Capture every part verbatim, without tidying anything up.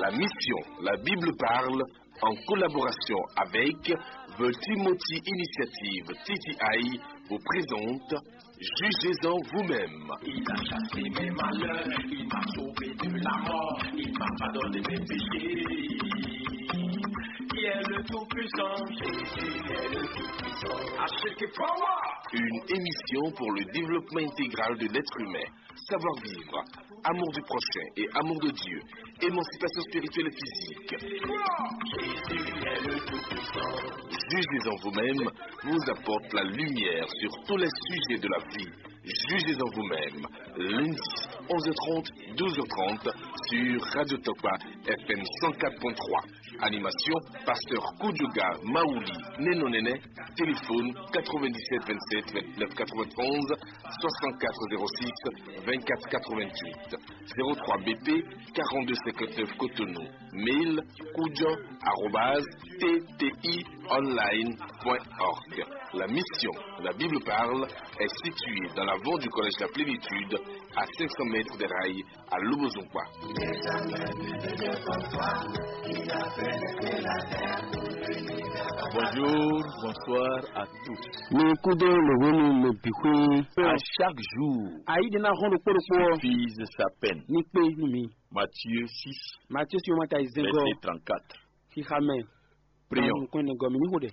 La mission, la Bible parle, en collaboration avec The Timothy Initiative, T T I, vous présente Jugez-en vous-même. Il a chassé mes malheurs, il m'a sauvé de la mort, il m'a pardonné mes péchés. Qui est le Tout-Puissant? Jésus est le Tout-Puissant. I shake it forward. Une émission pour le développement intégral de l'être humain. Savoir-vivre, amour du prochain et amour de Dieu, émancipation spirituelle et physique. Jugez-en vous-même vous apporte la lumière sur tous les sujets de la vie. Jugez-en vous-même, lundi, onze heures trente, douze heures trente, sur Radio Tokpa, F M cent quatre point trois. Animation, pasteur Koudjouga Maouli Nenonene. Téléphone quatre-vingt-dix-sept vingt-sept vingt-neuf quatre-vingt-onze, soixante-quatre zéro six vingt-quatre quatre-vingt-huit, zéro trois B P quarante-deux cinquante-neuf Cotonou. Mail, koudjo arobase T T I online point org. La mission, la Bible parle, est située dans l'avant du collège La Plénitude, à cinq cents mètres des rails, à Lobozongwa. Bonjour, bonsoir à tous. Mi kúdó lǒhónú mi bǐ xwé. À chaque jour, Ayi ɖe ná hɔn ɖokpó ɖokpó ɔ́, suffise sa peine. Ní kpé nú mi. Matthieu six, Matthieu si wọ́n ta yi zɛngɔ. Verset trente-quatre. Xixa mɛ. Prions. Nukun ne gɔ mi ní xo ɖe.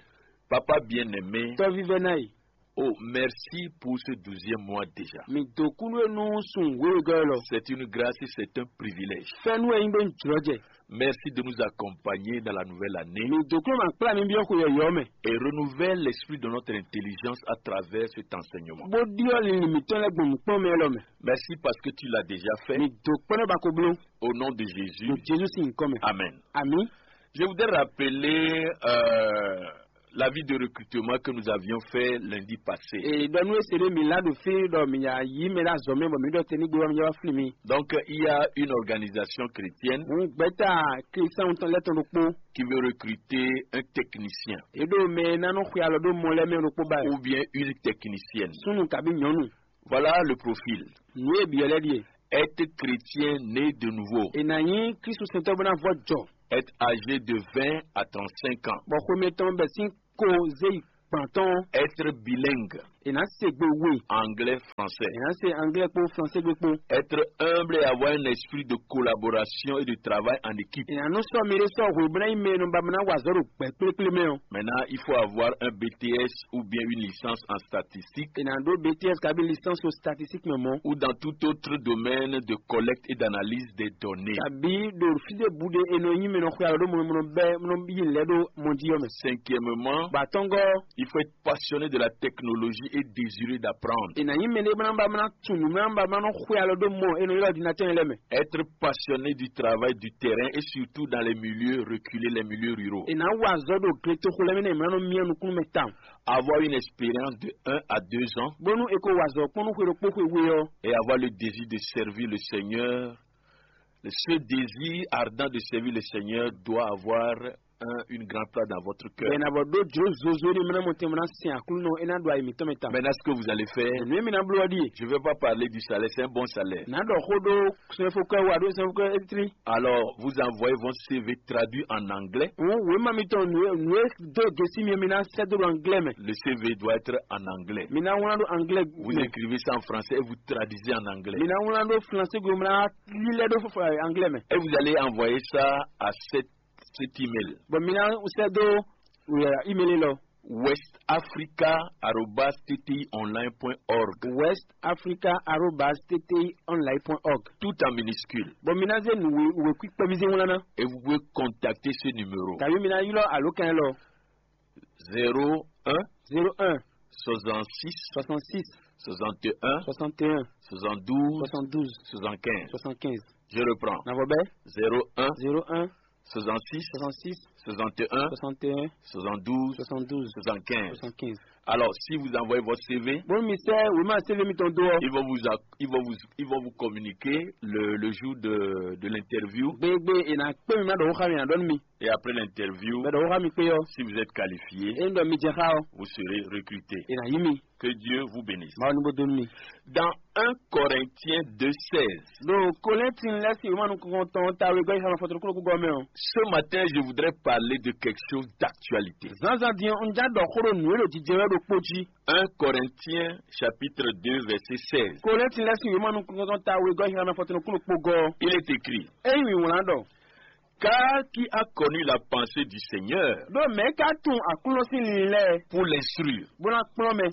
Papa bien-aimé, Tɔ́ vívɛ́ ná yi. Oh, merci pour ce douzième mois déjà. Mi dó kúnú e nú sun wéwegɔ́ lɔ. C'est une grâce et c'est un privilège. Fɛ́nú e nyí ɖó jlɔ́jɛ. Merci de nous accompagner dans la nouvelle année. Mi dó kúnú ma kplá mi byɔ́ xwe yɔ̌yɔ́ mɛ. Et renouvelle l'esprit de notre intelligence à travers cet enseignement. Bó ɖyɔ́ linlin mǐtɔn lɛ́ɛ gbɔn nǔkplɔ́nmɛ élɔ́ mɛ. Merci parce que tu l'as déjà fait. Mi dó kpɔ́n nɛ́ ba ko bló. Au nom de Jésus. Ɖo Jezu sín nyǐkɔ mɛ. Amen. Ami. Je voudrais rappeler euh, l'avis de recrutement que nous avions fait lundi passé. Ee, ɖɔ nú ese ɖé mi la ɖo fí ɖɔ mi ya yi mɛ ɖe azɔ̌ mɛ bɔ mi ɖɔ te ní gbé wá mi ya wá fli mi. Donc, il y a une organisation chrétienne Hǔn gbɛ́ta Klísián tɔn lɛ́ tɔn ɖokpó. Qui veut recruter un technicien. E ɖo mɛ ná nɔ xwe alɔ ɖó mɔ lɛ́ɛ mɛ ɖokpó ba. Ou bien une technicienne. Súnnu kabi nyɔ̌nu. Voilà le profil. Nǔ e byɔ́ lɛ́ ɖíe. Être chrétien né de nouveau. È nǎ nyí Klísu sɛntɔ́ bó ná vɔ jɔ. Être âgé de vingt à trente-cinq ans. Bɔ xwe mɛtɔn bɛ sín ko zé yi gbǎn tɔn. Être bilingue. È nǎ se gbe we. Anglais, français. È nǎ se anglais kpó français gbe kpó. Être humble et avoir un esprit de collaboration et de travail en équipe. È nǎ nú sɔ́ mi ɖé sɔ́ hwe bó ná nyí mɛ e nɔ ba bó ná wa azɔ̌ ɖo gbɛ̌ kplékplé mɛ ɔ́. Maintenant, il faut avoir un B T S ou bien une licence en statistique. È nǎ ɖó B T S kabi licence o statistique mɛ mɔ̌. Ou dans tout autre domaine de collecte et d'analyse des données. Kabi ɖo fí ɖé bu ɖé è nɔ nyí mɛ nɔ xwe alɔ ɖó mɔnɔmɔnɔ bɛ́ nɔ yi lɛ́ ɖó mɔ jí ɔ́ mɛ. Cinquièmement, Ba tɔ́ngɔ́, il faut être passionné de la technologie et désireux d'apprendre. È nǎ nyí mɛ ɖé bó ná ba bó ná tunwun nǔ bó ná ba bó ná nɔ xwe alɔ ɖó mɔ è nɔ ylɔ́ ordinateur lɛ́ɛ mɛ. Être passionné du travail du terrain et surtout dans les milieux reculés, les milieux ruraux. È nǎ wa azɔ̌ ɖo gletoxo lɛ́ɛ mɛ nɛ è mlá nɔ myá nukúnnú mɛ tawun. Avoir une expérience de un à deux ans. Bónú è ko wa azɔ̌ kpɔ́n nú xwe ɖokpó xwe we ɔ́. Et avoir le désir de servir le Seigneur. Ce désir ardent de servir le Seigneur doit avoir un, une grande place dans votre cœur. Bɛn abɔ ɖó jlǒ zozo ɖé mɛ ná mɔ tɛn mɔ ná sin Aklúnɔ é ná ɖo ayi mǐtɔn mɛ tawun. Maintenant, ce que vous allez faire, Nǔ e mi ná bló ɔ́ ɖíe. Je ne vais pas parler du salaire, c'est un bon salaire. Nǎ ɖɔ xó ɖó sɛnfókɔ́ wá ɖó sɛnfókɔ́ étrí. Alors, vous envoyez vos C V traduits en anglais. Wěma mitɔn nǔ e dó gěsí mi mi ná sɛ́ dó ɖo anglais mɛ. Le C V doit être en anglais. Mi ná wlán ɖó anglais. Vous écrivez ça en français et vous traduisez en anglais. Mi ná wlán ɖó français go mi ná lílɛ́ ɖó anglais mɛ. Et vous allez envoyer ça à cette, cet email. Bon, mi ná sɛ́ dó email lɔ. West africa arobase t t i online point org. West africa arobase t t i online point org. Tout en minuscule. Bon, mi ná zé nǔ wěkwín kpɛ́ví zé wlán ná. Et vous pouvez contacter ce numéro. Tàbí mi ná ylɔ́ àlókan lɔ. Zéro un. Zéro un. Soixante-six. Soixante-six. Soixante-un. Soixante-un. Soixante-douze. Soixante-douze. Soixante-quinze. Soixante-quinze. Je reprends. Navɔ bɛ. Zéro un. Zéro un. Soixante-six. Soixante-six. Soixante-un. Soixante-un. Soixante-douze. Soixante-douze. Soixante-quinze. Soixante-quinze. Alors, si vous envoyez votre C V, Bónú mi sɛ́ wěma C V mitɔn dó ɔ́, ils vont vous, a- ils vont vous, ils vont vous communiquer le, le jour de, de l'interview. Gbégbé è nǎ kpé mi má ɖɔ xó xá mi ǎ ɖɔ nú mi. Et après l'interview, Bɛ ɖɔ xó xá mi kpé ɔ́, si vous êtes qualifié, é ɖɔ mi jɛ xá ɔ́, vous serez recruté. È nǎ yí mi. Que Dieu vous bénisse. Mawu ní bó dó nú mi. Dans un Corinthiens deux seize, Ɖo Kolɛ́ntin lɛ́ɛ sín wěma nukɔntɔn ta wegɔ́ yi xá ma fɔtɔn kúló kúgɔ́ mɛ ɔ́. Ce matin, je voudrais parler de quelque chose d'actualité. Zǎnzǎn din ɔ́, un já ɖɔ xó ɖo nǔ e ɖo jijɛ wɛ ɖokpó jí. Un Corinthiens chapitre deux, verset seize. Kolɛ́ntin lɛ́ɛ sín wěma nukɔntɔn ta wegɔ́ yi xá ma fɔtɔn kúló kpó gɔ́. Il est écrit, É nyí wǐwlán ɖɔ. Car qui a connu la pensée du Seigneur Ɖó mɛ̌ ka tunwun Aklúnɔ sín linlin lɛ́ɛ pour l'instruire? Bó ná kplɔ́n mɛ?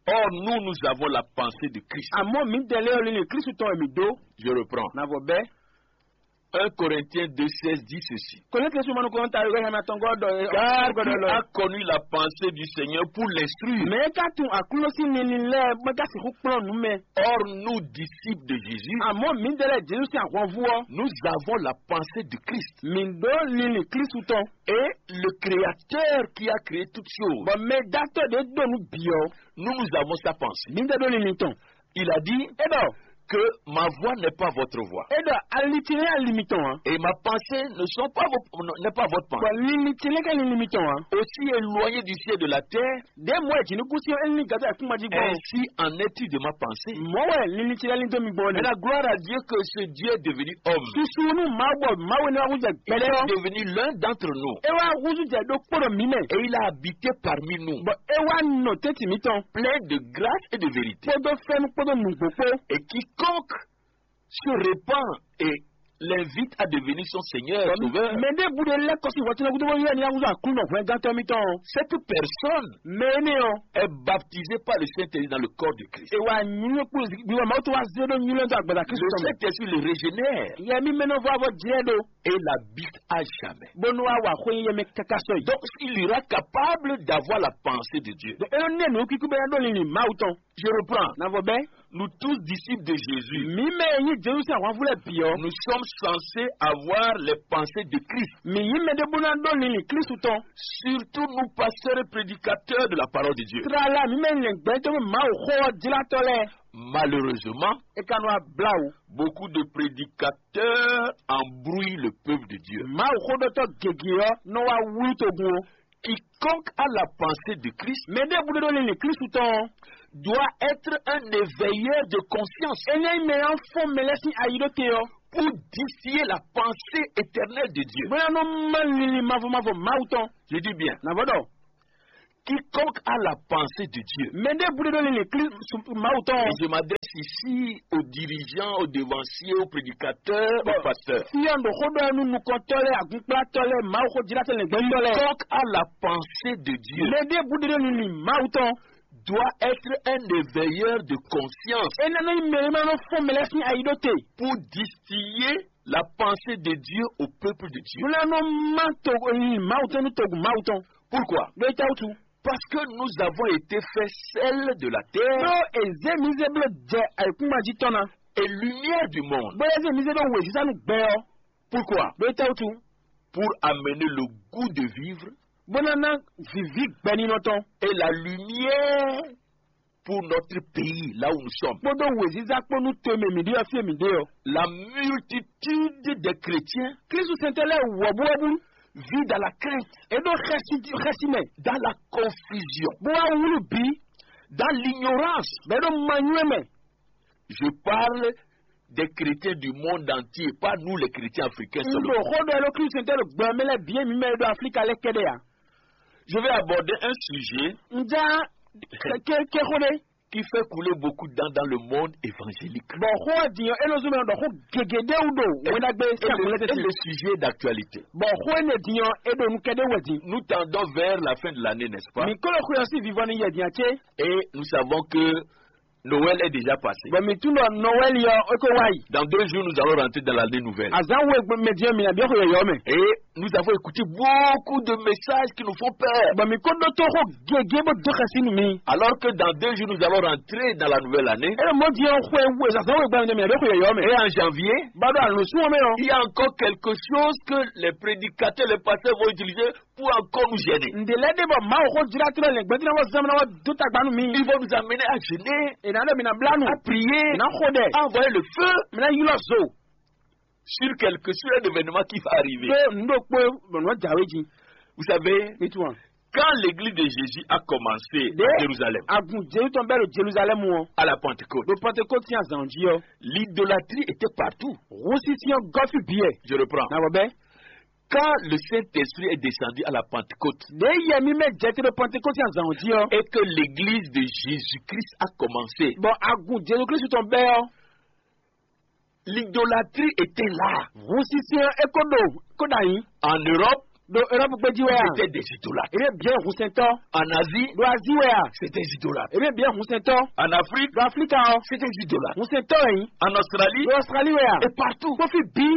Or, nous, nous avons la pensée de Christ. Àmọ́ mǐdɛɛ lɛ́ɛ ɔ́, linlin Klísu tɔn wɛ mǐ dó. Je reprends. Navɔ bɛ́. Un Corinthiens deux seize dit ceci. Kɔnɛtɛsí ma nukɔn ta yɔrɔ yɛn atɔngɔ dɔ. Car qui a connu la pensée du Seigneur pour l'instruire? Mɛ ka tún Aklúnɔ sín nini lɛ́ɛ mɛ ka sixú kplɔ́n nǔ mɛ. Or, nous, disciples de Jésus, Àmọ́ mǐdɛɛ lɛ́ɛ Jezu sín ahwanvú ɔ́, nous avons la pensée de Christ. Mǐ ɖó linlin Klísu tɔn. Et le Créateur qui a créé toutes choses, Bɔ mɛ dátɔ́ ɖě ɖo nǔ bǐ ɔ́, nous, nous avons sa pensée. Mǐdɛɛ ɖó linlin tɔn. Il a dit É ɖɔ que ma voix n'est pas votre voix. É ɖɔ ali ce lɛ́ɛ ali mitɔn ǎ. Et ma pensée ne sont pas vos, n'est pas votre pensée. Bɔ linlin ce lɛ́ɛ ka linlin mitɔn ǎ. Aussi éloigné du ciel de la terre, Ɖě mɔ̌ wɛ jǐnukúnsin ɔ́ é lín gǎtá ayǐkúngban jí gbɔn. Ainsi en est-il de ma pensée. Mɔ̌ wɛ linlin ce lɛ́ɛ lín dó mi gbɔn nɛ́. Maintenant, gloire à Dieu que ce Dieu est devenu homme. Susu nú Mawu bɔ Mawu énɛ́ wá hú jɛ Il gbɛtɔ́. Est devenu l'un d'entre nous. É wá húzú jɛ ɖokpó ɖo mǐ mɛ. Et il a habité parmi nous. Bɔ é wá nɔ tɛ́ntin mǐtɔn. Plein de grâce et de vérité. Kpódó fɛ́nú kpódó nǔgbó kpó. Et quiconque se repent et l'invite à devenir son Seigneur et Sauveur, Mɛ ɖěbǔ ɖé lɛ́ kɔ sín hwɛtínɔ gúdo bó ylɔ́ ní ahúzú Aklúnɔ hwɛngántɔ́ mítɔn. Cette personne Mɛ énɛ́ ɔ́, Est baptisée par le Saint-Esprit dans le corps de Christ. É wá nyúnyú kpó gbígbá Mawu tó wá zé ɖó nyúnyú dó agbada Kristu Le tɔn mɛ. Saint-Esprit le régénère Yɛ mí mɛ nɔ vɔ avɔ jlɛ́ ɖo. Et l'habite à jamais. Bónú wá wà xwé yɛ mɛ káká sɔ yìí. Donc, il ira capable d'avoir la pensée de Dieu. Ɖo é nɔ nɛ nǔ kíkú bɛ ɖó linlin Mawu tɔn. Je reprends. Navɔ bɛ. Nous tous disciples de Jésus, Mí mɛ e nyí Jezu sín ahwanvú lɛ́ɛ bǐ ɔ́, nous sommes censés avoir les pensées de Christ. Mǐ nyí mɛ ɖé bó ná ɖó linlin Kristu tɔn. Surtout nous pasteurs et prédicateurs de la parole de Dieu. Tlala mǐ mɛ lɛ̌ngbɛ́tɔ́ Mawu xó ɔ́ jlátɔ́ lɛ́ɛ. Malheureusement, É ka nɔ wá blá wǔ. Beaucoup de prédicateurs embrouillent le peuple de Dieu. Mawu xóɖɔtɔ́ gěgé ɔ́ nɔ wá wlú togun ɔ́. Quiconque a la pensée de Christ Mɛ ɖěbǔ ɖé ɖó linlin Kristu tɔn ɔ́, doit être un éveilleur de conscience. É ná nyí mɛ e ná fɔ́n mɛ lɛ́ɛ sín ayi ɖó te ɔ́, Pour distiller la pensée éternelle de Dieu. Bó ná nɔ má linlin mavɔ mavɔ Mawu tɔn. Je dis bien, Nǎ vɔ ɖɔ. Quiconque a la pensée de Dieu. Mɛ ɖěbǔ ɖé ɖó linlin Kristu Mawu tɔn ɔ́. Et je m'adresse ici aux dirigeants, aux devanciers, aux prédicateurs, aux pasteurs. Fí ɔ́, ɖo xó ɖɔ nú nukɔntɔ́ lɛ́ɛ, agunplátɔ́ lɛ́ɛ, Mawu xó jlátɔ́ lɛ́ɛ, gbɛtɔ́ lɛ́ɛ. Quiconque a la pensée de Dieu Mɛ ɖěbǔ ɖé ɖó linlin Mawu tɔn. Doit être un éveilleur de conscience. É ná nɔ nyí mɛ e ma nɔ fɔ́n mɛ lɛ́ɛ sín ayi ɖó te. Pour distiller la pensée de Dieu au peuple de Dieu. Bó ná nɔ má to linlin Mawu tɔn nú togun Mawu tɔn. Pourquoi? Ɖó é ta wútu. Parce que nous avons été faits sel de la terre Ɖó è zě mǐ zé bló jɛ ayǐkúngban jí tɔn ná. Et lumière du monde. Bóyá zé mǐ zé ɖó wěziza nú gbɛ ɔ́. Pourquoi? Ɖó é ta wútu. Pour amener le goût de vivre Bó ná ná vǐví gbɛninɔ tɔn. Et la lumière pour notre pays, là où nous sommes. Kpódó wěziza kpó nú to e mɛ mǐ ɖe ɔ́ fí e mǐ ɖe ɔ́. La multitude des chrétiens Klísu sɛntɛ́ lɛ́ɛ wɔ̌buwɔ́bú vit dans la crainte, é ɖó xɛsi xɛsi mɛ, dans la confusion. Bó wá wlú bǐ, Dans l'ignorance. Bɛ́ ɖó manywɛ́ mɛ. Je parle des chrétiens du monde entier, pas nous les chrétiens africains Un seulement. Ɖo xó ɖɔ é ɖó Klísu sɛntɛ́ ɖo gbɛ ɔ́ mɛ lɛ́ɛ bǐ e mǐ mɛ e ɖo Aflíka lɛ́ɛ kɛ́ɖɛ́ ǎ. Je vais aborder un sujet Un já ké ké xó ɖé. Qui fait couler beaucoup de dents dans le monde évangélique. Bɔ xó ɔ́ din ɔ́, é nɔ zɔ́n mɛ ɖɔ xó gěgé ɖé wú ɖo wɛn ɖagbe sín agun lɛ́ɛ tɛ́ntin. Et le sujet d'actualité. Bɔ xó énɛ́ din ɔ́, é ɖo nú kɛ́ɖɛ́ wɛ din. Nous tendons vers la fin de l'année, n'est-ce pas? Mǐ ko ɖo xwe ɔ́ sín vivɔ ní yɛ din ǎ cé? Et nous savons que Noël est déjà passé. Bɔ mǐ tunwun ɖɔ Nɔwɛ́li ɔ́, é ko wá yi. Dans deux jours, nous allons rentrer dans l'année nouvelle. Azǎn we mɛ din ɔ́, mǐ ná byɔ́ xwe yɔ̌yɔ́ mɛ. Et Nous avons écouté beaucoup de messages qui nous font peur. Bɔ mi ko ɖótó xó gěgé bó dó xɛsi nú mi. Alors que dans deux jours, nous allons rentrer dans la nouvelle année. Eye mɔ di ɔn xwe we zazan we gbɛmɛ mi aɖo xwe yɔyɔ mɛ. Et en janvier, ba ɖo alonso wɔn mɛ ɔ. Il y a encore quelque chose que les prédicateurs, les pasteurs vont utiliser pour encore nous gêner. Ǹdè lɛ ɖe bɔ mawu xó jira tlɔ lɛ gbɛdina wɔ zan na wɔ dó tagba nú mi. Ils vont nous amener à jeûner, ena ɖo mi na bla nu, à prier, ena xo ɖɛ, à envoyer le feu, mi na ylɔ zo sur quelque, sur un événement qui va arriver. Ɖó nu ɖokpó bɔ nɔ jawe jí. Vous savez, mi tún wa. Quand l'église de Jésus a commencé à Jérusalem, agun Jesu tɔn bɛ ɖo Jerusalem ɔ, à la Pentecôte, ɖo Pentecôte sin azan jí ɔ, l'idolâtrie était partout. Husi sin ɔ gɔfi biɛ. Je reprends. Na bɔ bɛ. Quand le Saint-Esprit est descendu à la Pentecôte, ɖe yɛ mi mɛ jɛ te ɖo Pentecôte sin azan jí ɔ, et que l'église de Jésus-Christ a commencé, bɔ agun Jesu Kristu tɔn bɛ ɔ, l'idolâtrie était là. Husi sin ɔ e ko ɖo ko ɖo anyi. En Europe, ɖo Europe gbé jí wɛ a? C'était des idolâtres. Ebe biɛ hunsɛntɔ. En Asie, ɖo Asie wɛ a? C'était des idolâtres. Ebe biɛ hunsɛntɔ. En Afrique, ɖo Afrika ɔ? C'était des idolâtres. Hunsɛntɔ wɛ nyi. En Australie, ɖo Australie wɛ a? Et partout. Kofi bi.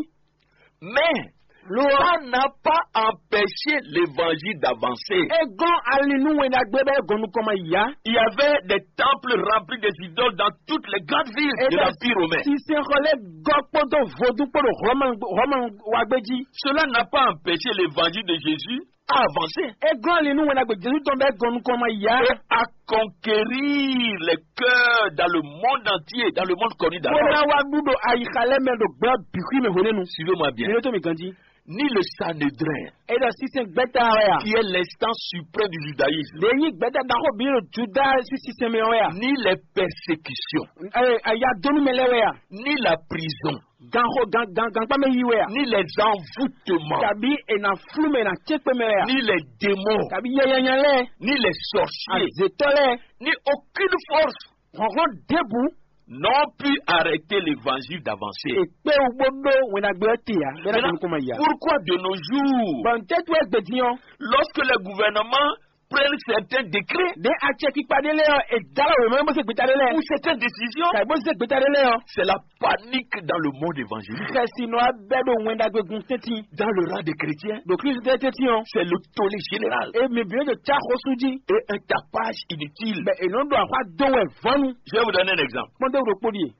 Mais lo ça n'a pas empêché l'évangile d'avancer. Eglɔn ali nú wɛn ɖagbe bɛ gɔnu kɔmɔ ya. Il y avait des temples remplis des idoles dans toutes les grandes villes de l'Empire romain. Sinsɛnxɔ lɛ gɔ kpódó vodún kpódó Rɔmɛ Rɔmɛ wa gbé jí. Cela n'a pas empêché l'évangile de Jésus à avancer. Eglɔn ali nú wɛn ɖagbe Jesu tɔn bɛ gɔnu kɔmɔ ya. Et à conquérir les cœurs dans le monde entier, dans le monde connu d'alors. Bó ná wá ɖu ɖo ayixa lɛ mɛ ɖo gbɛ bixwi mɛ hwenɛnu. Suivez-moi bien. Mi ɖo tó mi ganjí. Ni le Sanhédrin, e ɖɔ sinsɛn gbɛta wɛ a? Qui est l'instance suprême du judaïsme. Ɖe nyi gbɛta ɖaxó bi ɖo Juda si sinsɛn mɛ wɛ a? Ni les persécutions. Ɛ, aya donu mɛ lɛ wɛ a? Ni la prison. Ganxo gan gan gankpa mɛ yi wɛ a? Ni les envoûtements. Kabi ena flu mɛ na tsekpe mɛ wɛ a? Ni les démons. Kabi yɛyɛnya lɛ. Ni les sorciers. Azetɔ lɛ. Ni aucune force. Hɔnhlɔn debu. N'ont pu arrêter l'évangile d'avancer. Ekpe ugbo ɖo wɛnagbe ɔ te ya. Bɛna kɔn kɔn ma ya. Pourquoi de nos jours, bɔn tɛ tu egbe diyan. Lorsque les gouvernements prennent certains décrets, de atsɛ kpikpa ɖe lɛ ɔ, edala wɛ mɛ bó se gbeta ɖe lɛ. Ou certaines décisions, ka bó se gbeta ɖe lɛ ɔ. C'est la panique dans le monde évangélique. Kɛsi nɔ abɛ ɖo wɛnagbe gun tɛntin. Dans le rang des chrétiens, ɖo Kristu tɛ tɛntin ɔ. C'est le tollé général. E mi bi ɖo tsa xɔsu jí. Et un tapage inutile. Bɛ enɔ ɖo axwa do wɛ vɔnu. Je vais vous donner un exemple. Kpɔn ɖe ɖo kpó ɖie.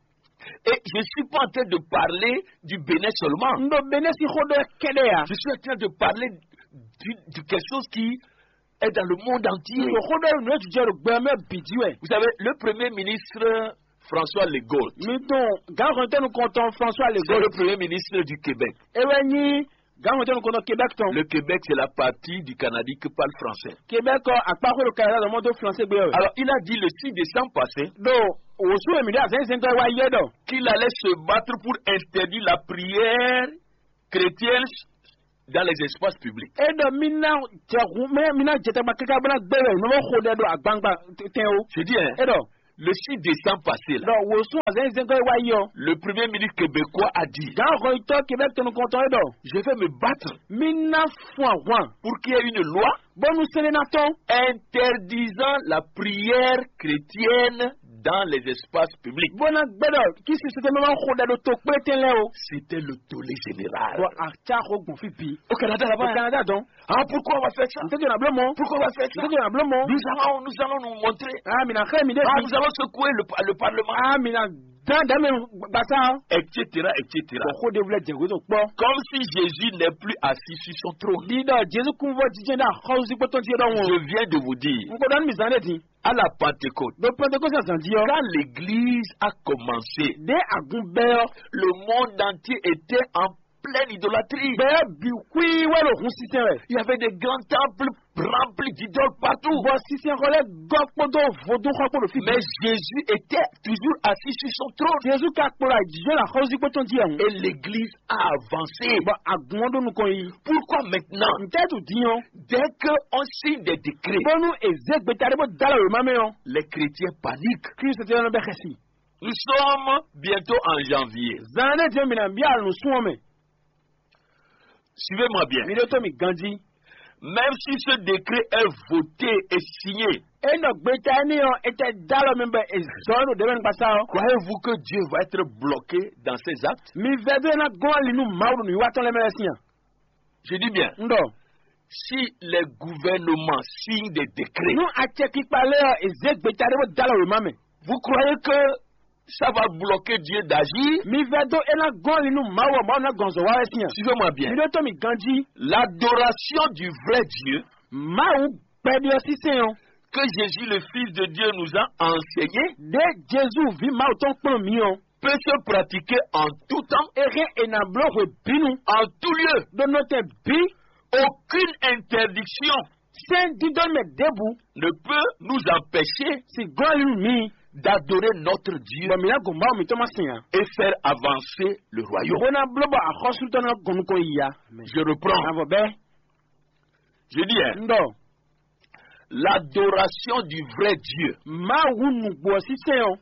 Et je suis pas en train de parler du Bénin seulement. N ɖo Bénin si xó ɖɔ kɛɖɛ ya. Je suis en train de parler du, de quelque chose qui est dans le monde entier. N ɖo xó ɖɔ nǔ e jijɛ ɖo gbɛ mɛ bǐ jí wɛ. Vous savez, le premier ministre François Legault, mi dɔn gǎn hɔntɔn nukɔntɔn François Legault, c'est le premier ministre du Québec. E wɛ nyi gǎn hɔntɔn nukɔntɔn Québec tɔn. Le Québec, c'est la partie du Canada qui parle français. Québec ɔ akpa xwe ɖo Canada lɔ mɔ do français gbé wɛ. Alors, il a dit le six décembre passé, ɖo wòsú èmi ɖe azɛnzɛn gɔ wa yɛ ɖɔ qu'il allait se battre pour interdire la prière chrétienne dans les espaces publics. E ɖɔ mi na jɛ hu mɛ mi na jɛ tagba kaka bena gbé wɛ nɔ xo ɖɛ ɖo agbangba tɛn o. Je dis, hein, e ɖɔ le six décembre passé là, ɖɔ wòsú azɛnzɛn gɔ wa yɛ ɔ. Le premier ministre québécois a dit, gǎn hɔntɔn Québec tɔn nukɔntɔn e ɖɔ je vais me battre, mi na fun ahwan, pour qu'il y ait une loi bɔnu sɛnɛ na tɔn, interdisant la prière chrétienne dans les espaces publics. Bɔna gbɛdɔ kí sisitɛ mɛ ma xo ɖɛ ɖo to kplétɛn lɛ o. C'était le tollé général. Bɔn atsa xo gbɔn fi bi. Au Canada là-bas, au Canada dɔn. Ah, pourquoi on va faire ça? Ntɛjɔ na blɔ mɔ. Pourquoi on va faire ça? Ntɛjɔ na blɔ mɔ. Nous allons, nous allons nous montrer. Ah, mina xɛ mi de. Ah, nous allons secouer le, le parlement. Ah, mina dan dan mɛ gbasa. Et cetera, et cetera. Bɔn xo de wulɛ jɛ wezɔ kpɔ. Comme si Jésus n'est plus assis sur son trône. Di dɔ Jesu kun vɔ jijɛ da xɔzikpɔtɔ ti dɔ ŋɔ. Je viens de vous dire, n ko dɔn mi zan de di. À la Pentecôte, ɖo Pentecôte azan di ɔ. Quand l'église a commencé, de agun bɛ ɔ. Le monde entier était en pleine idolâtrie. Bɛ bi kui wɛ lo hun sisɛ wɛ. Il y avait des grands temples remplis d'idoles partout. Bɔ sisɛ xɔ lɛ gɔ kpɔdɔ vodun xɔ kpɔdɔ fi. Mais Jésus était toujours assis sur son trône. Jesu ka kplɔ ajijɔ la xɔzikpɔtɔ di ɔ. Et l'église a avancé. Bɔ agun ɔ ɖo nukɔn yi. Pourquoi maintenant? Ntɛ tu di ɔ. Dès que on signe des décrets, bɔnu eze gbeta ɖe bɔ dala wema mɛ ɔ. Les chrétiens paniquent. Kristu tɛ yɔnɔ bɛ xɛsi. Nous sommes bientôt en janvier. Zan ne diɛ mina bi alu sun ɔ mɛ. Suivez-moi bien. Mi ɖe to mi ganji. Même si ce décret est voté et signé, e nɔ gbeta eni ɔ etɛ dalɔ mi bɛ ezɔ ɖo ɖe mɛ kpasa ɔ. Croyez-vous que Dieu va être bloqué dans ses actes? Mi vɛ do ena gɔn ali nu mawu nu yiwa tɔn lɛ mɛ lɛ sinya. Je dis bien, un ɖɔ, si les gouvernements signent des décrets, nú acɛkpikpa lɛ́ɛ ɔ́, è zě gbeta ɖé bó dó alɔ wěma mɛ. Vous croyez que ça va bloquer Dieu d'agir? Mi vɛdó é ná gɔ́n ali nú Mawu ɔ́, Mawu ná gɔn zɔ wá wɛ sín a? Suivez-moi bien. Mi ɖótó mi ganjí. L'adoration du vrai Dieu, Mawu gbɛɖe ɔ́ sísɛn ɔ́, que Jésus, le Fils de Dieu, nous a enseigné, ɖě Jezu ví Mawu tɔn kplɔ́n mǐ ɔ́, peut se pratiquer en tout temps, é hɛn è nǎ bló hwebǐnu, en tout lieu, ɖó nɔtɛn bǐ. Aucune interdiction, sɛ́n dídɔ́ mɛ ɖěbǔ, ne peut nous empêcher, si gɔ́n ali nú mǐ, d'adorer notre Dieu, bɔ mǐ ná gɔn Mawu mǐtɔn ma sɛn ǎ, et faire avancer le royaume, bó ná bló bɔ axɔ́sú tɔn ná gɔn nukɔn yi ya. Je reprends. Avɔ bɛ́. Je dis, hein, un ɖɔ, l'adoration du vrai Dieu, Mawu nǔgbó ɔ́ sísɛn ɔ́,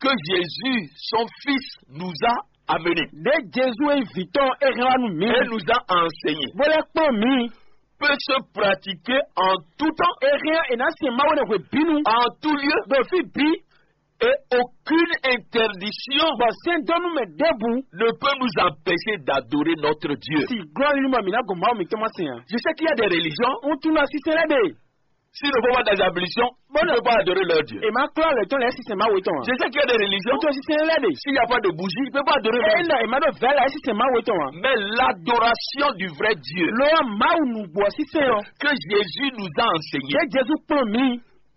que Jésus, son Fils, nous a amené, ɖě Jezu e nyí vǐ tɔn é hɛn wá nú mǐ, et nous a enseigné, bó lɛ́ kplɔ́n mǐ, peut se pratiquer en tout temps, é hɛn è nǎ sɛn Mawu ɖo hwebǐnu, en tout lieu, ɖo fí bǐ, et aucune interdiction, bɔ sɛ́ndɔ́nú mɛ ɖěbǔ, ne peut nous empêcher d'adorer notre Dieu. Si glɔ́ nínú mɛ mǐ ná gɔn Mawu mǐtɔn ma sɛn ǎ. Je sais qu'il y a des religions, un tunwun ɖɔ sísɛ́n lɛ́ɛ ɖe, s'ils ne vont pas dans l'ablution, ils ne peuvent pas adorer leur Dieu. È má klɔ́ alɔ tɔn lɛ́ɛ sísɛ́n Mawu tɔn ǎ. Je sais qu'il y a des religions, un tunwun sísɛ́n lɛ́ɛ ɖe, s'il n'y a pas de bougie, ils ne peuvent pas adorer leur Dieu. Ena è má ɖo vɛ̌ lɛ́ɛ sísɛ́n Mawu tɔn ǎ. Mais l'adoration du vrai Dieu, lo ɔ́ Mawu nǔgbó ɔ́ sísɛ́n ɔ́, que Jésus nous a enseigné, ɖě Jezu kplɔ́n mǐ,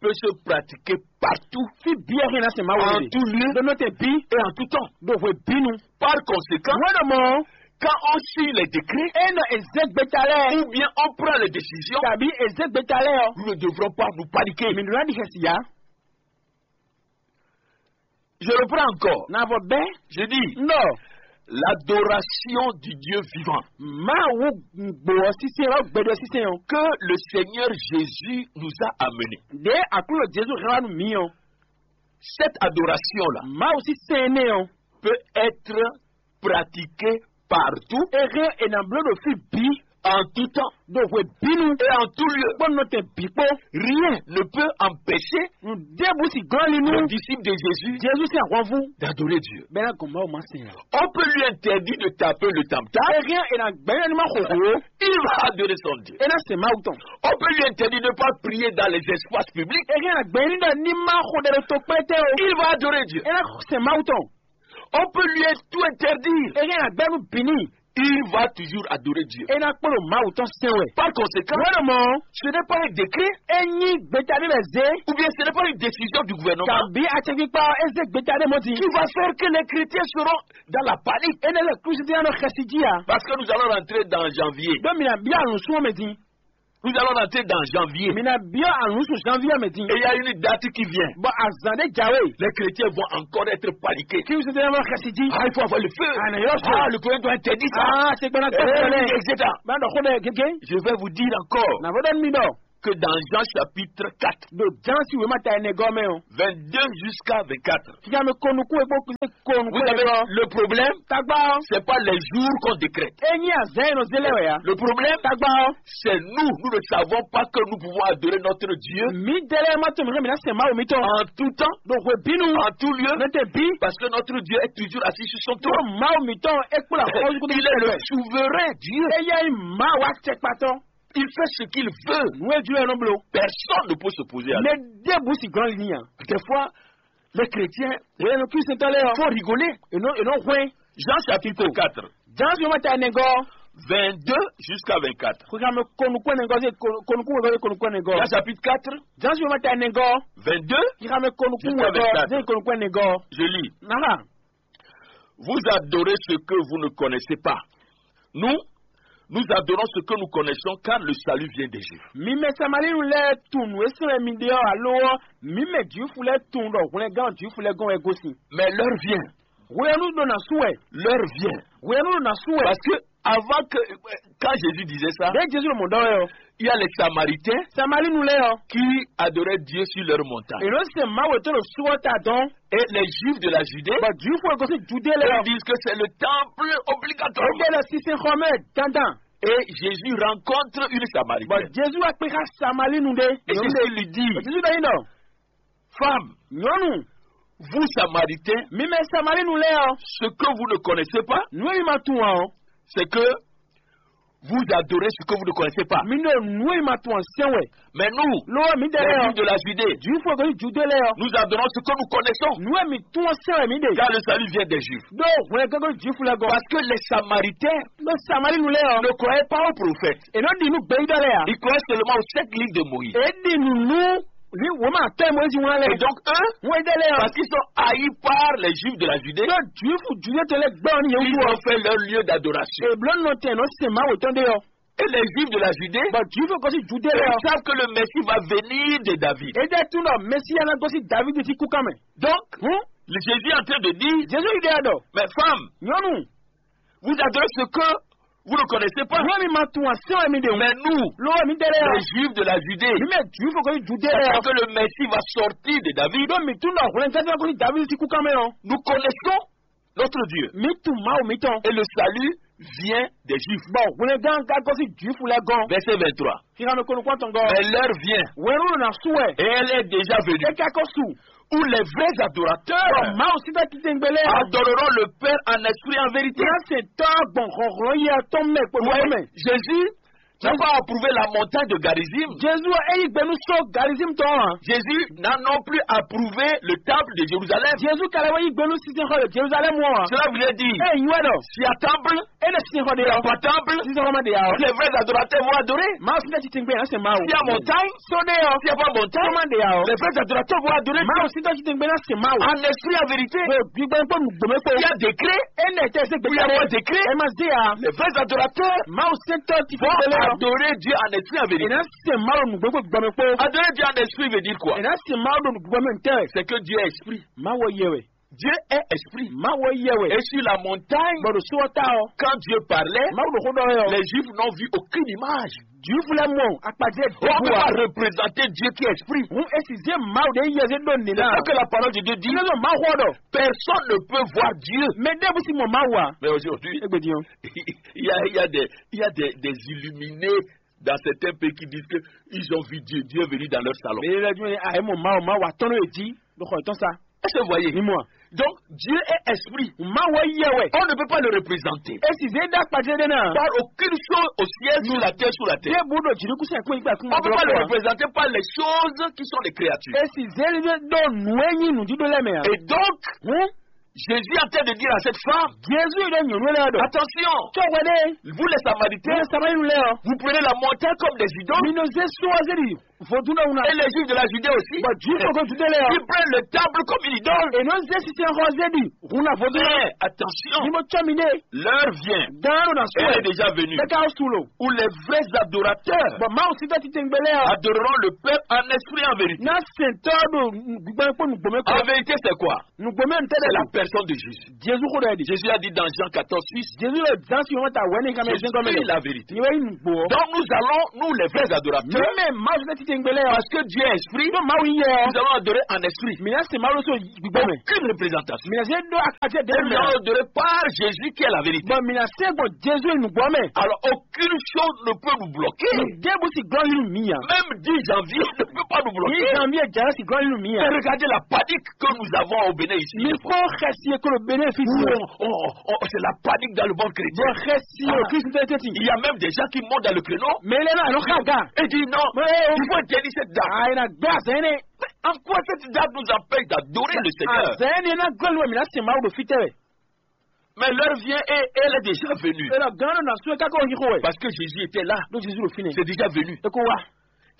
peut se pratiquer partout, fí bǐ ɛ hɛn ná sɛn Mawu en tout lieu, ɖo nɔtɛn bǐ, et en tout temps, ɖo hwebǐnu. Par conséquent, wɛ́ ɖɔ mɔ̌, quand on signe les décrets, é nɔ è zé gbeta lɛ́ɛ, ou bien on prend les décisions, tàbí è zé gbeta lɛ́ɛ ɔ́, nous ne devrons pas nous paniquer. Mǐ ɖó ná ɖi xɛsi ǎ. Je reprends encore. Na vɔ bɛ́. Je dis, non, l'adoration du Dieu vivant, Mawu gbó ɔ́ sísɛ́n ɔ́ gbɛɖɔ sísɛ́n ɔ́, que le Seigneur Jésus nous a amené, ɖě Aklúnɔ Jezu hɛn wá nú mǐ ɔ́, cette adoration-là, Mawu sísɛ́n énɛ́ ɔ́, peut être pratiquée partout, é hɛn è nǎ bló ɖo fí bǐ, en tout temps, ɖo hwebǐnu, et en tout lieu, kpó nɔtɛn bǐ kpó. Rien ne peut empêcher, nǔ ɖěbǔ sì glɔ́n ali nú, le disciple de Jésus, Jezu sín ahwanvú, d'adorer Dieu. Bɛ́ ná gɔn Mawu ma sɛn ǎ. On peut lui interdire de taper le tam-tam. É hɛn è nǎ gbɛ́ ní ma xo hǒ, il va adorer son Dieu. É ná sɛn Mawu tɔn. On peut lui interdire de ne pas prier dans les espaces publics. É hɛn è nǎ gbɛ́ ní ɖɔ ní ma xo ɖɛ ɖo tokpɛ́tɛ́ o. Il va adorer Dieu. É ná sɛn Mawu tɔn. On peut lui tout interdire. É hɛn è nǎ gbɛ́ nú bǐ n'i. Il va toujours adorer Dieu. É ná kplɔ́n Mawu tɔn sɛn wɛ. Par conséquent, wɛ́ ɖɔ mɔ̌, ce n'est pas un décret, é nyí gbeta ɖé lɛ́ɛ zé, ou bien ce n'est pas une décision du gouvernement, tàbí acɛkpikpa é zé gbeta ɖé mɔ̌ din, qui va faire que les chrétiens seront dans la panique. Énɛ́ lɛ́ɛ Klísu dín ná nɔ xɛsi jí ǎ. Parce que nous allons rentrer dans janvier. Ɖó mǐ ná byɔ́ alǔsúnmɔ mɛ din. Nous allons rentrer dans janvier. Mǐ ná byɔ́ alǔsún janvier mɛ din. Et il y a une date qui vient. Bɔ azǎn ɖé jǎwe. Les chrétiens vont encore être paniqués. Klísu dín ná nɔ xɛsi jí. Ah, il faut avoir le feu. Ah, na yɔ sɔ. Ah, le gouvernement doit interdire ça. Ah, c'est quoi la Eh, et cetera. Maintenant, on est gégé. Je vais vous dire encore. Na vɔ ɖɔ mi ɖɔ. Que dans Jean chapitre quatre, ɖo Jean si wema ta ene gɔmɛ o, vingt-deux jusqu'à vingt-quatre. Kika mi kɔnu kú egbò kú kɔnu kú egbò. Vous savez, le problème, tagba, c'est pas les jours qu'on décrète. Enyi azan yɛ nɔ zélé wɛ ya. Le problème, tagba, c'est nous, nous ne savons pas que nous pouvons adorer notre Dieu. Mi délé ma to mi mi na se ma o mi tɔn. En tout temps, donc we binu, en tout lieu, ne te bi, parce que notre Dieu est toujours assis sur son trône. Ma o mi tɔn e kpla ko. Il est le souverain Dieu. Eya ma wa tse kpatɔ. Il fait ce qu'il veut. Nú e jló ɛ nɔ bló. Personne ne peut s'opposer à lui. Mɛ ɖěbǔ si gɔ́n li n'i a. Des fois, les chrétiens, wɛ nɔ Kristian tɔn lɛ yɔ, font rigoler. E nɔ e nɔ hwɛn. Jean chapitre quatre, Jean si wọ́n ta ẹni gɔ́. Vingt-deux jusqu'à vingt-quatre. Kò ká mɛ kɔnukú ẹni gɔ́ sí kɔnukú ẹni gɔ́ sí kɔnukú ẹni gɔ́. Jean chapitre quatre, Jean si wọ́n ta ẹni gɔ́. Vingt-deux, kì í ká mɛ kɔnukú jusqu'à ẹni gɔ́ vingt-quatre. Sí kɔnukú ẹni gɔ́. Je lis. Nàhà. Vous adorez ce que vous ne connaissez pas. Nous, nous adorons ce que nous connaissons, car le salut vient des Juifs. Mi mɛ Samalinu lɛ́ɛ tunwun nǔ e sɛn wɛ mi ɖe ɔ́ alo ɔ́, mi mɛ Jwifu lɛ́ɛ tunwun ɖɔ hwlɛngán Jwifu lɛ́ɛ gɔ́n wɛ gosín. Mais l'heure vient. Hwenu ɖo ná sú wɛ. L'heure vient. Hwenu ɖo ná sú wɛ. Parce que avant que, quand Jésus disait ça, Ɖé Jezu ɖo mɔ̌ ɖɔ wɛ ɔ́, il y a les Samaritains Samalinu lɛ́ɛ ɔ́, Qui adoraient Dieu sur leur montagne. È nɔ se Mawu tɔn ɖo sú ɔ́ ta dɔn. Et les Juifs de la Judée, Bɔ Jwifu e gosín Judée lɛ́ɛ eux ɔ́, disent que c'est le temple obligatoire. Éɖé lɔ sísɛ́n xɔ mɛ dandan. Et Jésus rencontre une Bɔ Samaritaine. Jezu wá kpé xá Samalinu ɖé. Et c'est ce qu'il lui dit. Jezu ɖɔ yín ɖɔ, Femme, nyɔnu, vous Samaritains, mi mɛ Samalinu lɛ́ɛ ɔ́, ce que vous ne connaissez pas, nǔ e mi ma tunwun ǎ ɔ́, c'est que Vous adorez ce que vous ne connaissez pas. Mi ɖo nǔ e ma tunwun ǎ sɛn wɛ. Mais nous, Lo mi ɖe les lɛ́ɛ Juifs de la Judée, Jwifu e gosín Judée lɛ́ɛ ɔ́, nous adorons ce que nous connaissons. Nǔ e mi tunwun ɔ́ sɛn wɛ mi ɖe. Car le salut vient des Juifs. Ɖó hwlɛngán gosín Jwifu lɛ́ɛ gɔ́n. Parce que les Samaritains Ɖó Samalínu lɛ́ɛ ɔ́, ne croyaient pas aux prophètes. È nɔ ɖi nǔ gbeyíɖɔ lɛ́ɛ ǎ. Ils croyaient seulement aux sept livres de Moïse. È ɖi nǔ nú wěma atɔ́ e Mɔyízi wlán lɛ́ɛ. Et donc, eux, Wọ́n ɖe lɛ́ɛ ɔ́, parce qu'ils sont haïs par les Juifs de la Judée, ɖó Jwifu Judée tɔn lɛ́ɛ gbɛ́ ɔ́ nú yě ils wú ɔ́, ont fait leur lieu d'adoration. È blǒ nɔ tɛn nɔ sɛn Mawu tɔn ɖe ɔ́. Et les Juifs de la Judée, Bɔ Jwifu gosín Judée lɛ́ɛ ils ɔ́, savent que le Messie va venir de David. È ɖe tunwun ɖɔ Mɛsíya ná gosín Davídi sín kúkan mɛ. Donc, Hǔn, Jésus est en train de dire, Jezu ɖe ɖɔ, mais femmes, nyɔnu, vous adorez ce que vous ne connaissez pas. Nú mi ma tunwun ǎ sɛn wɛ mi ɖe wú. Mais nous, Lo mi ɖe lɛ́ɛ ɔ́, les Juifs de la Judée, mi mɛ Jwifu gosín Judée lɛ́ɛ sachant ɔ́, que le Messie va sortir de David, ɖó mi tunwun ɖɔ hwlɛngán gosín Davídi sín kúkan mɛ ɔ́, nous connaissons notre Dieu. Mi tunwun Mawu mitɔn. Et le salut vient des Juifs. Bɔ hwlɛngán ka gosín Jwifu lɛ́ɛ gɔ́n. Verset vingt-trois. Xixanɔ kɔnukɔn tɔn gɔ́. Mais l'heure vient, Wɛnu ɖo na su wɛ. Et elle est déjà venue, É ka ko su. Où les vrais adorateurs Bɔ Mawu sín tɔ́ titewungbe lɛ́ɛ ɔ́, adoreront le Père en esprit et en vérité. Ná se tɔ́ gbɔn hlɔ̌nhlɔ́n yɛ tɔn mɛ kpó Ouais, mɛ. Jésus n'a pas approuvé la montagne de Garizim. Jezu ɔ́, é yí gbe nú só Garizim tɔn ɔ́ ǎ. Jésus n'a non plus approuvé le temple de Jérusalem. Jezu ka lɛ́ wɛ yí gbe nú sinsɛnxɔ ɖo Jerusalɛ́mu ɔ́ ǎ. Cela voulait dire, É nyí wɛ ɖɔ si à temple, é ɖo sinsɛnxɔ ɖe il n'y a ɔ́, pas temple, sinsɛnxɔ ma ɖe ǎ ɔ́, les vrais adorateurs vont adorer. Mawu sín tɔ́ titewungbe ná se Mawu. Si à montagne, Só ɖe ɔ́, si à pas montagne, só ma ɖe ǎ ɔ́, les vrais adorateurs vont adorer Mawu sín tɔ́ titewungbe ná se Mawu. En esprit, en vérité. Ɖo gbígbɔn kpó nǔgbó mɛ kpó. Il y a décret. Énɛ́ tɛ se Où il y a pas décret, Ɛ ma zé ya. Les vrais adorateurs Mawu sɛntɔ ti vont kpele ya. Adorer Dieu en esprit et en vérité. Ena se Mawu nugbe kpó gbɔmɛ kpó. Adorer Dieu en esprit veut dire quoi? Ena se Mawu ɖo nugbe mɛ ntɛ. C'est que Dieu est esprit. Mawu yɛ wɛ. Dieu est esprit. Mawu yɛ wɛ. Et sur la montagne, Bɔ ɖo sɔ ta ɔ. Quand Dieu parlait, Mawu ɖo xó ɖɔ yɔ. Les Juifs n'ont vu aucune image. Juifulɛ mɔ akpajɛ. On ne peut pas représenter Dieu qui est esprit. Hun esi zé Mawu ɖe yɛ zé ɖo C'est nina. Ça que la parole de Dieu dit. Ilé ma xɔ ɖɔ. Personne ne peut voir Dieu. Mɛ ɖe bu si mɔ Mawu a. Mais aujourd'hui, Egbe diyan. il y a, il y a des, il y a des, des illuminés dans certains pays qui disent que ils ont vu Dieu, Dieu est venu dans leur salon. Mɛ yɛ jumɛn a yɛ mɔ Mawu Mawu atɔn ɖo edzi ɖo xɔ etɔn sa. Est-ce que vous voyez? Ni mɔ. Donc, Dieu est esprit. Mawu yɛ wɛ. On ne peut pas le représenter. Esi zé ɖe akpajɛ ɖe na. Par aucune chose au ciel, sur la terre, sous la terre. Ye bu ɖo jiriku sɛ kpɛn gba kuma. On ne peut pas le représenter par les choses qui sont les créatures. Esi zé ɖe ɖo nue nyi nu ɖiɖo lɛ mɛ a. Et donc, Hun. Jésus est en train de dire à cette femme, Jezu ɖe nyɔnu lɛ ɖɔ. Attention, Tsɔ wɛ ɖe. Vous les Samaritains, Ye Samarinu lɛ ɔ. Vous prenez la montagne comme des idoles. Mi nɔ zé sɔ zé ɖi. Vodun ɖe wuna. Et les Juifs de la Judée aussi. Bɔ Juifs ko Judée lɛ ɔ. Ils prennent le temple comme une idole. E nɔ zé sisɛn xɔ zé ɖi. Hun na vodun. Mais attention, Ni mo tsɔ mi ɖe. L'heure vient. Gan ɖo na sɔ. Elle est déjà venue. Bɛ ka su lo. Où les vrais adorateurs Bɔ Mawu si tɛ titengbe lɛ ɔ. Adoreront le Père en esprit et en vérité. Na sɛntɔ ɖo gbɛgbɛ kpó nugbɔmɛ kpó. En vérité, c'est quoi? Nugbɔmɛ ntɛ C'est la personne de Jésus. Jesu xo ɖe ɖi. Jésus a dit dans Jean quatorze six, Jesu ɖo Jean si wɔn ta wɛ ne kan Je mɛ zɛn gɔmɛ suis lɛ. La vérité. Ni wɛ yi nugbo. Donc nous allons, nous les vrais adorateurs, Mɛ Mawu si tɛ titengbe lɛ ɔ. Parce que Dieu est esprit, Ɖo Mawu yɛ ɔ. Nous allons adorer en esprit. Mi na se Mawu so gbígbɛ mɛ. Aucune représentation. Mi na se ɖo akadze de. Et nous mɛ. Allons adorer par Jésus qui est la vérité. Bɔn mi na se gbɔn Jesu nugbɔ mɛ. Alors aucune chose ne peut nous bloquer. Debu si glɔ yi mi ya. Même dix janvier ne peut pas nous bloquer. Ni janvier jara si glɔ yi mi ya. Mais regardez la panique que nous avons au Bénin ici. Mi kpɔ xɛsi ye kolo Bénin fi. Où on, on, on, c'est la panique dans le monde chrétien. Bɔn xɛsi ye o Kristu tɛ tɛ ti. Il y a même des gens qui montent dans le créneau. Mɛ lɛ na lɔ xa ga. Et disent non, Mais, il faut tenir cette date. Ayi na gbɛ azɛn ne. Mais en quoi cette date nous empêche d'adorer le Seigneur? Azɛn ne na gbɛ lu mi na se Mawu ɖo fitɛ wɛ. Mais l'heure vient et elle est déjà venue. Ela gan na so ka ko yi ko wɛ. Parce que Jésus était là. Ɖo Jesu ɖo fi ne. C'est déjà venu. E ko wa.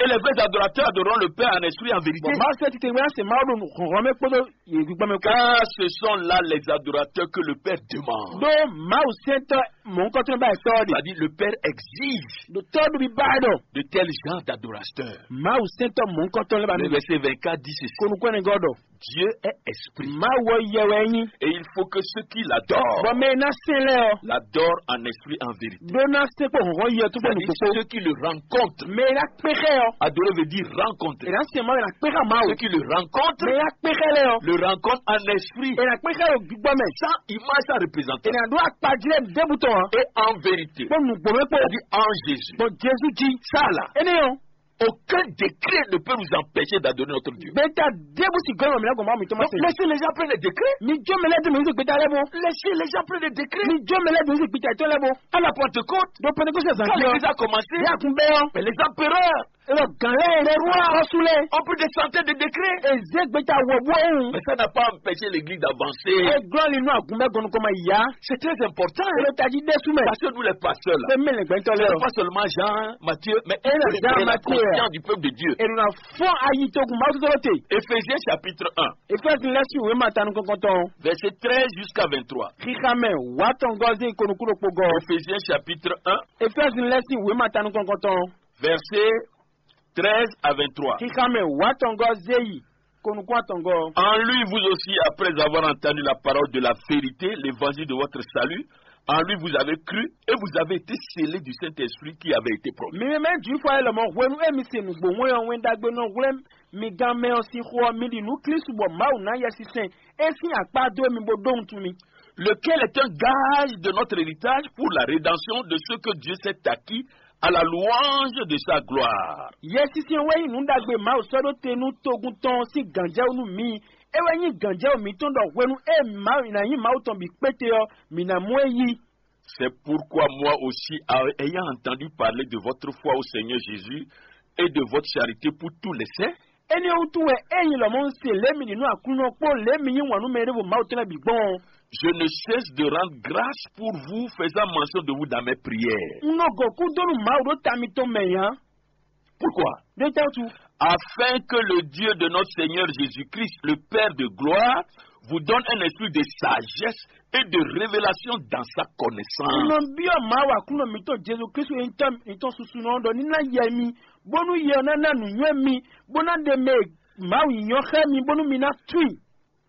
Et les vrais adorateurs adoreront le Père en esprit et en vérité. Bɔn Mawu sɛ titɛ wɛ se Mawu ɖo hɔnhɔn mɛ kpɔdɔ ye gbígbɔ mɛ kpɔ. Car ce sont là les adorateurs que le Père demande. Ɖo Mawu sɛntɔ mɔnkɔtɔ ba tɔ de. C'est-à-dire le Père exige Ɖo tɔ ɖo bi ba ɖɔ. De tels genres d'adorateurs. Mawu sɛntɔ mɔnkɔtɔ lɛ ba Le mi. Verset vingt-quatre dit ceci. Konu kɔnɛ gɔ ɖɔ. Dieu est esprit. Mawu yɛ wɛ nyi. Et il faut que ceux qui l'adorent Bɔn mɛ na se lɛ ɔ. L'adorent en esprit et en vérité. Ɖo na se kpɔ hɔn yɛ tu kpɔ C'est-à-dire nukpokpo. Ceux qui le rencontrent. Mɛ na kpe xɛ ɔ. Adorer veut dire rencontrer. E na se Mawu e na kpe xa Mawu. Ceux qui le rencontrent Mɛ na kpe xɛ lɛ ɔ. Le rencontrent en esprit E na kpe xɛ ɖo gbígbɔ mɛ. Sans image, sans représentation. E na ɖo akpajlɛ ɖebu tɔn. Et en vérité. Kpɔ nugbo mɛ kpɔ. C'est-à-dire en Jésus. Bɔn Jesu ji. Ça là. Ene yɔ. Aucun décret ne peut nous empêcher d'adorer notre Dieu. Gbeta ɖěbǔ si gɔ́ mǐ lɛ́ gbɔn Mawu mǐtɔn ma Donc, se. Laissez les gens prendre des décrets. Mi jó mɛ lɛ́ɛ dó mǐ ní gbeta lɛ́ɛ bɔ. Laissez les gens prendre des décrets. Mi jó mɛ lɛ́ɛ dó ní gbeta tɔn lɛ́ɛ bɔ. À la Pentecôte, Ɖo Pentekoste zan quand jí ɔ. L'église a commencé, Yɛ kun bɛ́ ɔ. Mais les empereurs Elo gǎn lɛ́ɛ, le roi, Xɔ́sú lɛ́ɛ. Ont pris des centaines de décrets. Eze gbeta wɔ bó ohun. Mais ça n'a pas empêché l'église d'avancer. Eglɔ́ li nú agun bɛ́ gɔnukɔ ma yá. C'est très important. Elo tají ɖésú mɛ. Parce que nous, les pasteurs là, Pé mí lɛ gbɛtɔ c'est lɛ. Pas seulement Jean, Matthieu, mais Ena Jean, Matthieu, conscient du peuple de Dieu. Elo na fɔn ayi togun Mawu tɔtɔ te. Éphésiens chapitre un, Efɛzi lɛsi wema tanu kɔkɔtɔn. Verset treize jusqu'à vingt-trois. Xixamɛ wa tɔngɔzi konukuɖo kpogɔ. Éphésiens chapitre un, Efɛzi lɛsi wema tanu kɔkɔtɔn. Verset treize à vingt-trois. Xixamɛ wa tɔngɔzi yi konukun atɔngɔ. En lui, vous aussi, après avoir entendu la parole de la vérité, l'évangile de votre salut, en lui vous avez cru et vous avez été scellés du Saint-Esprit qui avait été promis. Mi mɛ Jwifu ayé lɔmɔ hwenu e mi se nǔgbó wɛn ɔ́ wɛn ɖagbe nɔ hwlɛ́n mi gán mɛ ɔ́ sín xó ɔ́, mi ɖi nǔ Klísu bɔ Mawu ná Yɛsinsɛn é sín akpá dó mi bó ɖó wuntun mi. Lequel est un gage de notre héritage pour la rédemption de ceux que Dieu s'est acquis à la louange de sa gloire. Yɛsinsɛn wɛ nyí nǔ ɖagbe Mawu sɔ́ ɖó te nú togun tɔn sín gǎnjɛwú nú mi. É wɛ nyí gǎnjɛwú mǐtɔn ɖɔ hwenu e Mawu ná nyí Mawu tɔn bǐ kpéte ɔ́, mǐ ná mɔ ɛ yí. C'est pourquoi moi aussi, ayant entendu parler de votre foi au Seigneur Jésus et de votre charité pour tous les saints, Énɛ́ wútu wɛ ényí lɔmɔ̌ un se lě mi ɖi nú Aklúnɔ kpó lě mi yí wǎn nú mɛ e ɖěvo Mawu tɔn lɛ́ɛ bǐ gbɔn ɔ́. Je ne cesse de rendre grâce pour vous, faisant mention de vous dans mes prières. Un nɔ gɔ̌ kú dó nú Mawu ɖó ta mitɔn mɛ ǎ. Pourquoi? Ɖé tɛ́ wútu? Afin que le Dieu de notre Seigneur Jésus-Christ, le Père de gloire, vous donne un esprit de sagesse et de révélation dans sa connaissance. Un nɔ byɔ́ Mawu Aklúnɔ mǐtɔn Jezu Klísu e nyí Tɔ́ mǐtɔn susunɔ ɔ́ ɖɔ ní ná yɛ mi, bónú yɛ ɔ́ ná ná nǔnywɛ́ mi, bó ná ɖe mɛ e Mawu nyí ɔ́ xlɛ́ mi, bónú mi ná tunwun i.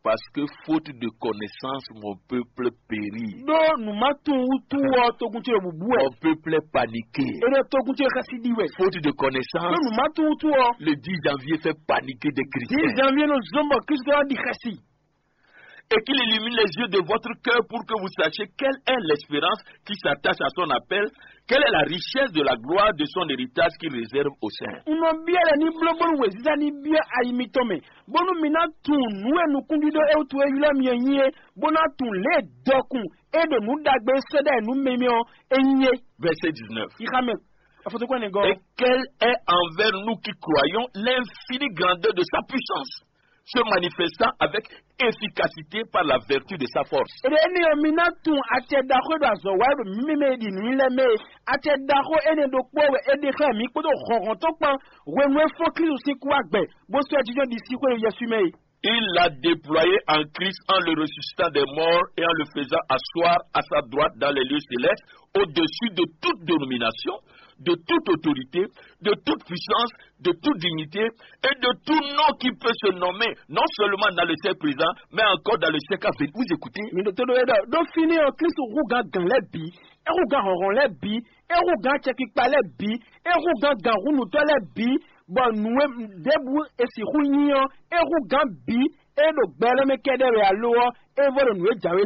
Parce que faute de connaissance, mon peuple périt. Ɖó nǔ ma tunwun wútu ɔ́, togun ce ɖo bǔbú wɛ. Mon peuple est paniqué. É ɖo togun ce xɛsi ɖi wɛ. Faute de connaissance, Ɖó nǔ ma tunwun wútu ɔ́, le dix janvier fait paniquer des chrétiens. Dix janvier nɔ zɔ́n bɔ Kristu ɔ́ ɖi xɛsi. Et qu'il illumine les yeux de votre cœur pour que vous sachiez quelle est l'espérance qui s'attache à son appel, quelle est la richesse de la gloire de son héritage qu'il réserve aux saints. Un nɔ byɔ́ lɛ ní bló bónú wěziza ní byɔ́ ayi mitɔn mɛ, bónú mi ná tunwun nǔ e nukúnɖíɖó e wútu e ylɔ́ mi ɔ́ nyí é, bó ná tunwun lě e dɔkun e ɖo nǔ ɖagbe e sɔ́ ɖ'ayǐ nú mi mɛ ɔ́ é nyí é. Verset dix-neuf. Xixa mɛ afɔtɔkpɔ́nɛgɔ́. Et quelle est envers nous qui croyons l'infinie grandeur de sa puissance, se manifestant avec efficacité par la vertu de sa force. Eɖe énɛ́ ɔ́, mi ná tunwun acɛ ɖaxó e ɖo azɔ̌ wa wɛ ɖo mǐ mɛ e ɖi nǔ nyi lɛ́ɛ mɛ e. Acɛ ɖaxó énɛ́ ɖokpó wɛ é ɖe xlɛ́ mǐ kpódó hlɔ̌nhlɔ́n tɔn kpán hwenu e fɔ́n Klísu sín kú wá gbɛ, bó sɔ́ ɛ jínjɔ́n ɖisíxwé ɖo Yɛsu mɛ e. Il l'a déployé en Christ en le ressuscitant des morts et en le faisant asseoir à sa droite dans les lieux célestes, au-dessus de toute dénomination, de toute autorité, de toute puissance, de toute dignité et de tout nom qui peut se nommer, non seulement dans le siècle présent, mais encore dans le siècle à venir. Vous écoutez? Mi ɖo tó ɖó é ɖɔ ɖó fínɛ́ ɔ́, Klísu hú gǎn gǎn lɛ́ɛ bǐ, é hú gǎn hlɔ̌nhlɔ́n lɛ́ɛ bǐ, é hú gǎn acɛkpikpa lɛ́ɛ bǐ, é hú gǎn gǎnhúnútɔ́ lɛ́ɛ bǐ, bɔ nǔ e ɖěbǔ è sixú nyí ɔ́, é hú gǎn bǐ e ɖo gbɛ lɛ́ɛ mɛ kɛ́ɖɛ́ wɛ alo ɔ́, é vɔ ɖo nǔ e jǎwe